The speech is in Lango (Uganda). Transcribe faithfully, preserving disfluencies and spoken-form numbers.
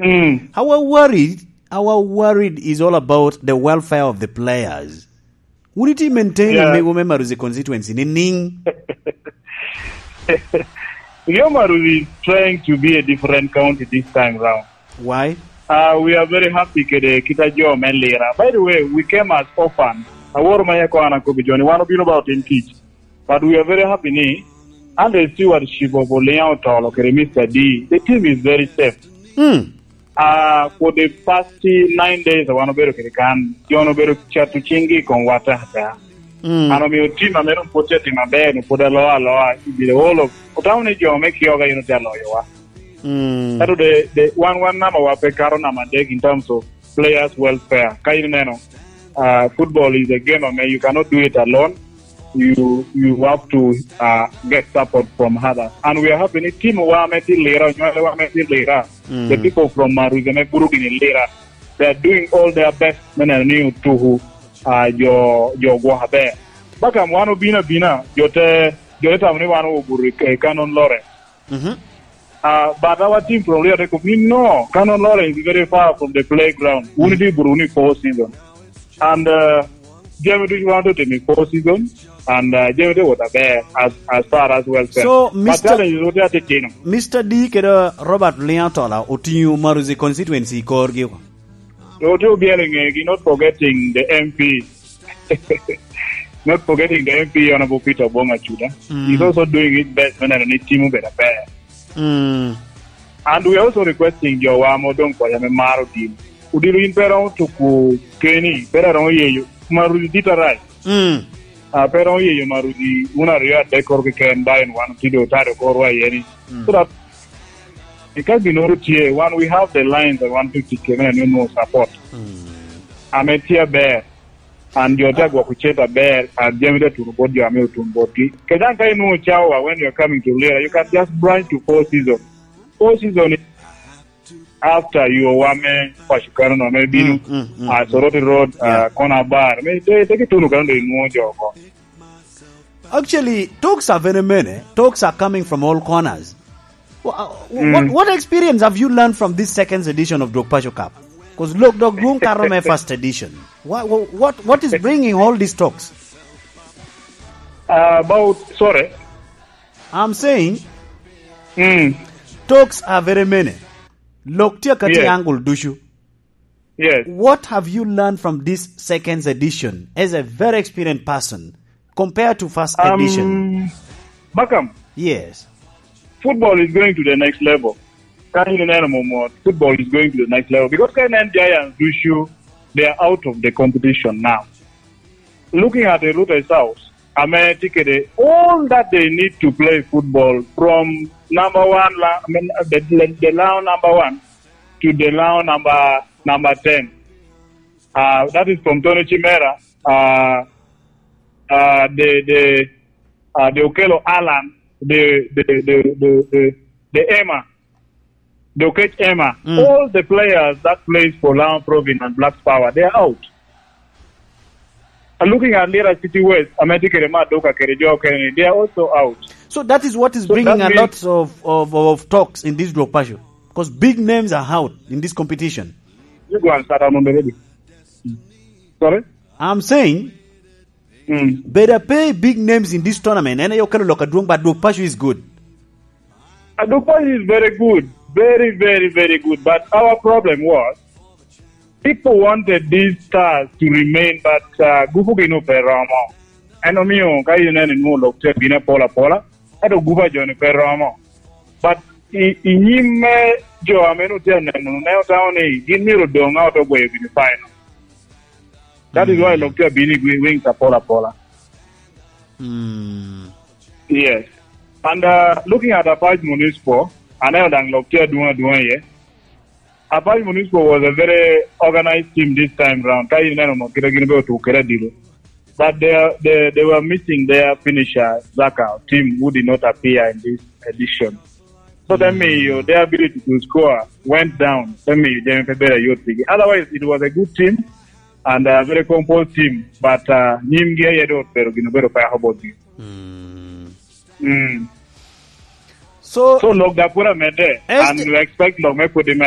Mm. Our worry, our worried is all about the welfare of the players. Wun iti maintain Yeah. Omego me Maruzi constituency ni ning? Rio Maruzi is trying to be a different county this time round. Why? Uh, we are very happy kede kita jo me Lira. By the way, we came as orphans. Awor ma yako ana kobi joni, wan obino ba otim kic. But we are very happy ni, under the stewardship of Oliang Otolo kede Mister D, the team is very safe. Mm. Uh, for the past nine days, wan obedo kede kan, jo obedo cato cinggi i kom wata ata. Mm. An omio team ame dong pwod tye timo aber, ni pwod aloa aloa, i the whole of, otamo ni jo me Kioga yin otye aloyowa. Mm. Kato de, de, wan, wan namba wa pe kato namba adek in terms of players welfare. Ka in ineno, uh, football is a game ame you cannot do it alone. You, you have to, uh, get support from others. And we are happy ni team wa ame tye Lira, onywale wa ame tye Lira, Mm. the people from Maruzi ame buro gini Lira, they are doing all their best me neno ni otuku, uh, jo, jo gwok aber. Bakam wan obino abina, jo te, jo te tamo ni wan obuto i, i Canon Lawrence. Mhm. Uh, but our team from Rio Teko, we know Canon Lawrence is very far from the playground. We need to Burundi four season. And, uh, Jamie do you want to take me four season? And, uh, Jamie do what about as, as far as welfare. So, But Mister challenge is what you have to change. Mister D kede Robert Liantola otingo Maruzi constituency i korgi. So, to be a, not forgetting the M P. Not forgetting the M P, Honorable Peter Obong Achuda. Mm. He's also doing his best me neno ni team obedo aber. Mm. And we are also requesting jo wa ame odong koca me maro odilo. Odilo in pe romo tuku keni, pe romo yeyo. Maruzi dit arai. Mm. Ah, pe romo yeyo Maruzi, wun aryo adek koro keken, ba en wan otido otado korwa iye ni. Mm. So that, e ka ginoro tye, wan we have the lines that want to tic kene ni no support. Mm. Ame tye aber. An jo te agwoko cente aber, an jami te tuno bot jo ame otuno botgi. Kede an ka inwoŋo cawa when you are coming to Lira, you can just branch to four season. Four season is after you are wame paco kano no, me bino, Mm, mm, mm, uh, mm. Soroti Road, uh, Yeah. Corner Bar. Me te, te kituno kano do inwoŋo jo oko. Actually, talks are very many. Talks are coming from all corners. Wha-, uh, wh-, what, Mm. what experience have you learned from this second edition of Dwok Paco Cup? 'Cause look, Dok Dwong Karo me first edition. What, what, what, what is bringing all these talks? Uh, about, sorry. I'm saying, Mm. talks are very many. Lok tye ka tye Yes. angle ducu. Yes. What have you learned from this second edition as a very experienced person compared to first Um, edition? Bakam, Yes. Football is going to the next level. Can you learn more? Football is going to the next level because K N N Giants do show they are out of the competition now. Looking at the Luther South, ame tye kede all that they need to play football from number one, la-, I mean, the, the, the Lao number one to the Lao number, number ten. Uh, that is from Tony Chimera, uh, uh, the, the, uh, the Okello Allan, the, the, the, the, the, the Emma, the Okech Emma. Mm. All the players that plays for Lao Province and Blacks Power, they are out. Uh, looking at Lira City West, ame tye kede Maduka kede jo okene, they are also out. So that is what is So bringing that a means lot of, of, of talks in this Dwok Paco. 'Cause big names are out in this competition. You go and start on the ready. Sorry? I'm saying, Mm. better pay big names in this tournament. And you can look at Dwong, but Dwok Paco is good. Uh, Dwok Paco is very good. Very, very, very good. But our problem was, people wanted these stars to remain, but, uh, gupu gin ope romo. En omio ka ineno ni lok tye bino apola apola, ento gupu a jo-ni pe romo. But i, i nyim me jo ame nwoŋo tye aneno, ne otamo ni gin myero odoŋ a oto gweyo gini final. That is why Mm. lok tye abino i gwi-, wings apola apola. Mm. Yes. And, uh, looking at Apac Municipal, aneno daŋ lok tye adwoŋ adwoŋ iye. Apac Municipal was a very organized team this time round. Ka ineno mo, kite gin be otuko kede adilo. But they, they, they were missing their finisher, Zaka, team who did not appear in this edition. So that mean you, their ability to score went down. That mean you didn't better youth league. Otherwise, it was a good team and a very composed team. But, uh, nyimgi aye do pero gino bedo pa hobot gi. Mm. Mm. So, So lok da pura mede, as and the we expect lok me pwodi med.